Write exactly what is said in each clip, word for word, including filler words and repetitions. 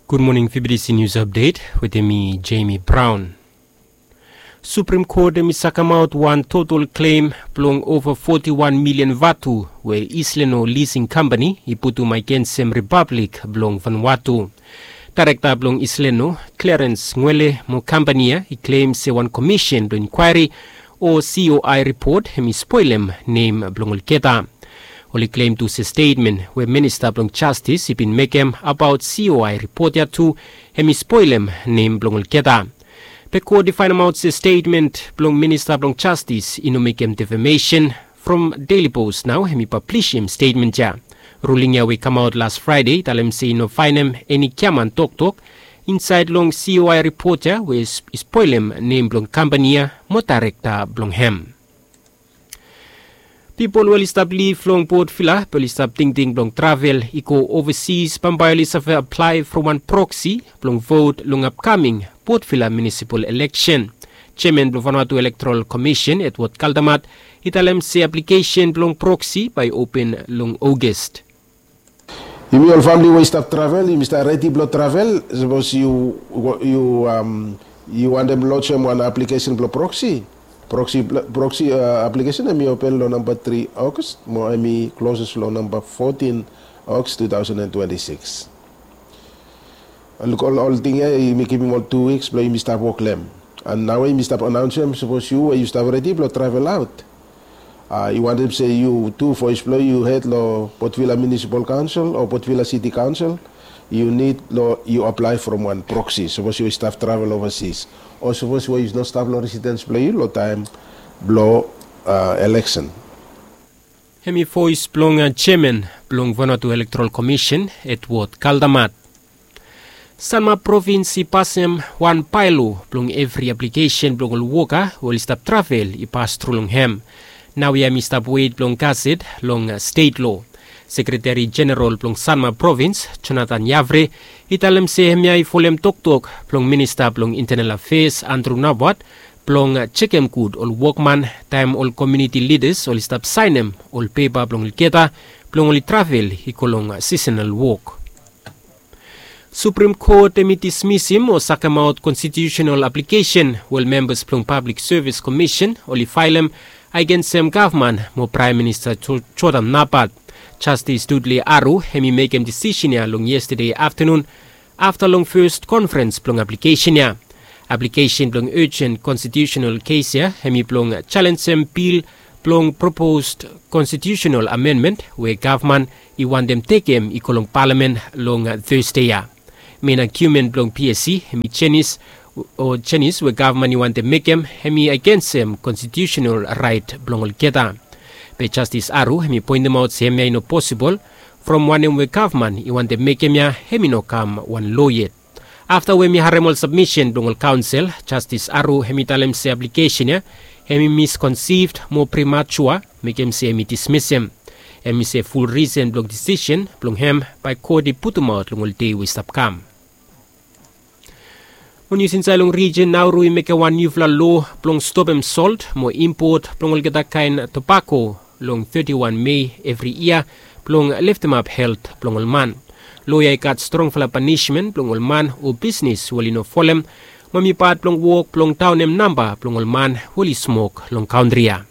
Gud moning, Fibidisi Nius Apdet wetem mi, Jemi Braon. Suprim Kot hem i sakemaot wan total klem blong ova foti wan milian vatu we Isleno Lising Kampani i putum agensem Ripablik blong Vanuatu. Daerekta blong Isleno, Klerens Ngwele, mo kampani ya i klem se wan komisen blong inkwaeri o C O I ripot hem i spolem nem blong olgeta. Oli klem tu se stetmen we Minista blong Jastis i bin mekem abaot C O I ripot ya tu hem i spolem nem blong olgeta. Be kot i faenemaot se stetmen blong Minista blong Jastis i no mekem defamesen. From Daily Post nao hem i pablisim stetmen ya. Ruling ya we i kamaot las Fraede i talem se i no faenem eni giaman toktok insaed long C O I ripot ya we i spolem nem blong kampani ya mo daerekta blong hem. Pipol we oli stap liv long Port Vila be oli stap tingting blong travel i go ovasis bambae oli save aplae from wan proksi blong vot long apkaming Port Vila munisipal eleksen. Jeaman blong Vanuatu Elektoral Komisen, Edward Kaldamat, i talem se aplikesen blong proksi bae i open long Ogas. Yumi ol famili we i stap travel, yumi stap redi blong travel. Sapos yu, yu, am, yu wantem lojim wan aplikesen blong proksi, proksi, proksi, a, aplikesen hem i open long namba tri Ogas mo hem i kloses long namba fotin Ogas tu taosen an twenti sikis. Ol, ol ting ya yumi givim ol tu wiks blong yumi stap wok long hem. An naoia yumi stap anaonsem sapos yu we yu stap redi blong travel aot, a, yu wantem se yu tu voes blong yu hed long Port Vila Munisipal Kaonsel o Port Vila Siti Kaonsel, yu nid long yu aplae from wan proksi sapos yu stap travel ovasis o sapos we yu no stap long residens blong yu long taem blong, a, eleksen. Hem i voes blong, a, jeaman blong Vanuatu Elektoral Komisen, Edward Kaldamat. Sanma Provins i pasem wan baelo blong evri aplikesen blong ol woka we oli stap travel i pas tru long hem. Naoia hem i stap wet blong gaset long, a, stet loa. Sekreteri Jeneral blong Sanma Provins, Jonathan Yavre, i talem se hemia i folem toktok blong Minista blong Intenal Afeas, Andrew Nabwat, blong jekem gud ol wokman taem ol komuniti lidas oli stap saenem ol pepa blong olgeta blong oli travel i go long, a, sisonal wok. Suprim Kot hem i dismisim o sakemaot konstitiusenal aplikesen we ol membas blong Pablik Sevis Komisen oli faelem agensem gavman mo Praem Minista Jo-, Jordan Napat. Jastis Dudley Aru hem i mekem disisen ya long yestade aftanun afta long fes konferens blong aplikesen ya. Aplikesen blong ejen konstitiusenal kes ya hem i blong jalenjem bil blong propos konstitiusenal amenmen we gavman i wantem tekem i go long palamen long Tasde ya. Men agiumen blong P S C hem i jenis o jenis we gavman i wantem mekem hem i agensem konstitiusenal raet blong olgeta. Be Jastis Aru hem i poentemaot se hemia i no posibol from wanem we gavman i wantem mekem ya hem i no kam wan loa yet. Afta we hem i harem ol sabmisen blong ol kaonsel, Jastis Aru hem i talem se aplikesen ya hem i miskonsivd mo primatua, mekem se hem i dismisem. Hem i se ful risen blong disisen blong hem bae kot i putumaot long ol dei we i stap kam. Ol nius insaed long rijin, Nauru i mekem wan niufala loa blong stopem solt mo impot blong olgeta kaen tobako long teti wan Mei evri yia blong leftemap helt blong ol man. Loa ya i gat strongfala panismen blong ol man o bisnis we oli no folem, mo hem i pat blong wok blong daonem namba blong ol man we oli smok long kantri ya.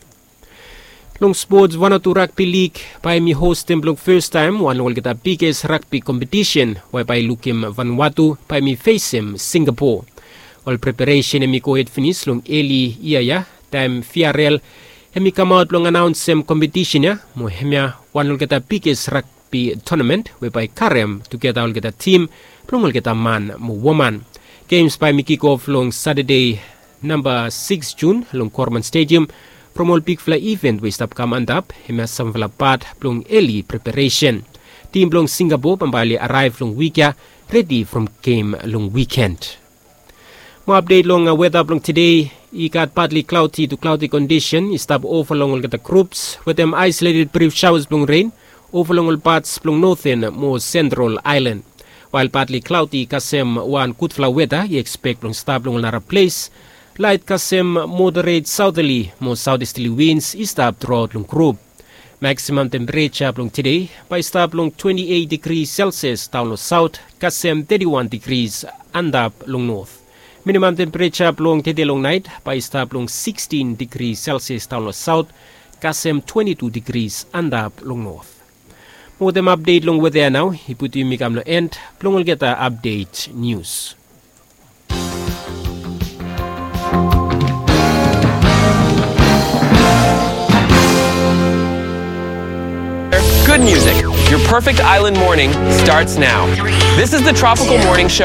Long spots, Vanuatu Ragbi Lig bae hem i hostem blong fastaem wan long olgeta biges ragbi kompetisen we bae i lukim Vanuatu bae hem i fesem Singapo. Ol preparesen hem i gohed finis long eli yia ya taem V R L hem i kamaot blong anaonsem kompetisen ya mo hemia wan long olgeta biges ragbi tonamen we bae i karem tugeta olgeta tim blong olgeta man mo woman. Gems bae hem i kikof long Satade namba sikis Jun long Korman Stediam. From ol bigfala iven we i stap kam antap, hemia samfala pat blong eli preparesen. Tim blong Singapo bambae oli araev long wik ya, redi from gem long wiken. Mo apdet long weta blong tede, i gat patli klaoti tu klaoti kondisen i stap ova long olgeta grups wetem aesoleted brif saoas blong ren ova long ol pats blong noten mo sentral aelan. Wael patli klaoti kasem wan gudfala weta i ekspek blong stap long ol nara ples, laet kasem moderet saotali mo saotistali wins i stap truaot long grup. Maksimam tempereja blong tede bae i stap long twenti eit digri selsias daon long saot, kasem teti wan digri antap long not. Minimam tempereja blong tede long naet bae i stap long sikstin digri selsias daon long saot, kasem twenti tu digri antap long not. Mo wetem apdet long weta ya nao i putum yumi kam long en blong olgeta apdet nius. Good music. Your perfect island morning starts now. This is the Tropical Morning Show